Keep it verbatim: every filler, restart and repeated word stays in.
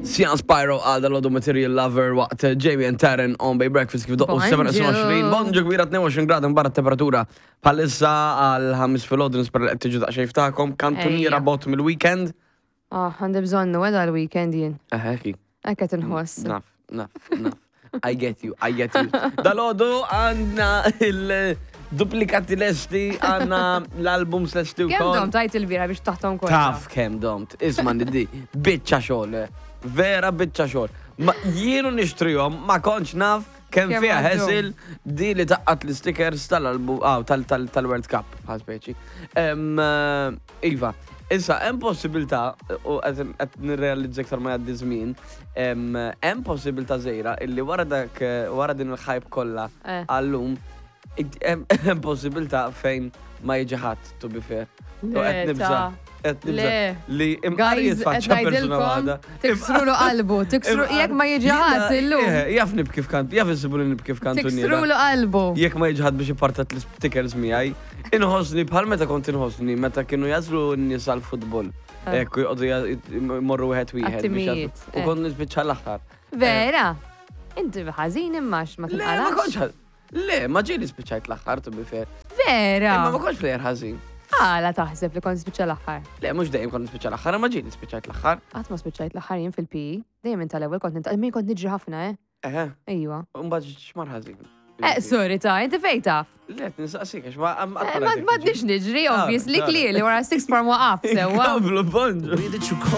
Sian Spyro għal dal-għodu Material Lover waqt Jamie and Taryn on Bay Breakfast kif doqqu Bonġu. sebgħa u għoxrin. Bonġu kbira, tnejn u għoxrin grad barra temperatura bħalissa għall-ħamis filgħodu, nispera li qed tiġu daqsxejn ftakom. Kantuniera Ejja. bot mill-weekend. Ah, għandi bżonnu għeda l-weekend jien. Eħeki. Hekk qed inħoss. Naf, naf, naf. I get you, I get you. Dal-għodu għandna il-duplikati lesti, għandna l-albums lesti u Kemm dom kol. tajt il-bira biex taħtom kollha? Taf kemm domt. Isma' niddi, biċċa xogħol, eh. Vera biċċa xogħol. Ma jienu nixtrihom, ma kontx naf kemm Kemm fiha għaddu. hassle di li taqqat l-stickers tal-album, ah, tal-World Cup, bħal speċi. Em, eh, Iva, issa hemm possibilità, u qed qed nirrealizza iktar ma jgħaddi żmien, em, hemm possibilità żgħira illi wara dak eh, wara din il-hype kollha Eh. għallum, id- hemm hemm possibilità fejn ma jiġi ħadd, to be fair. U qed Le, nibża' ta' qed nibża' Le. li imqar Guys, qed jitfaċċa persuna ngħidilkom, waħda. tiksrulu qalbu, tiksru jekk ma jiġi ħadd illum. Eh, Jaf nibki f'kant, jaf insibu li nibki f'kantuniera. Tiksrulu qalbu. Jekk ma jiġi ħadd biex ipartat l-stickers miegħi, inħossni bħal meta kont inħossni meta kienu jażlu n-nies għall-futbol. Eh. Ekku joqogħdu ja- jmorru wieħed wieħed biex Għat-timijiet, jażlu. U eh. kont nispiċċa l-aħħar. Vera? Inti ħażin immax ma Le, ma tinqalax. kontx ħa- Le, ma ġieli spiċċajt l-aħħar, to be fair. Vera? Imma ma kontx player ħażin. Għala taħseb li kont spiċċa l-aħħar? Le, mhux dejjem kont nispiċċa l-aħħar, ma ġieli spiċċajt l-aħħar. Qatt ma spiċċajt l-aħħar jien fil-P E. Dejjem inta l-ewwel kont nintaq, min kont niġri ħafna, eh? Eħe, Ejwa. u mbagħad x'mar ħażin. Eh, sorry ta' inti fejn taf? Le, nistaqsik, għax ma Eh, Ma ma tnix niġri, Ah, obviously, sorry. clearly, wara six form waqaf, sewwa. Komplu, bonġu. Way that you call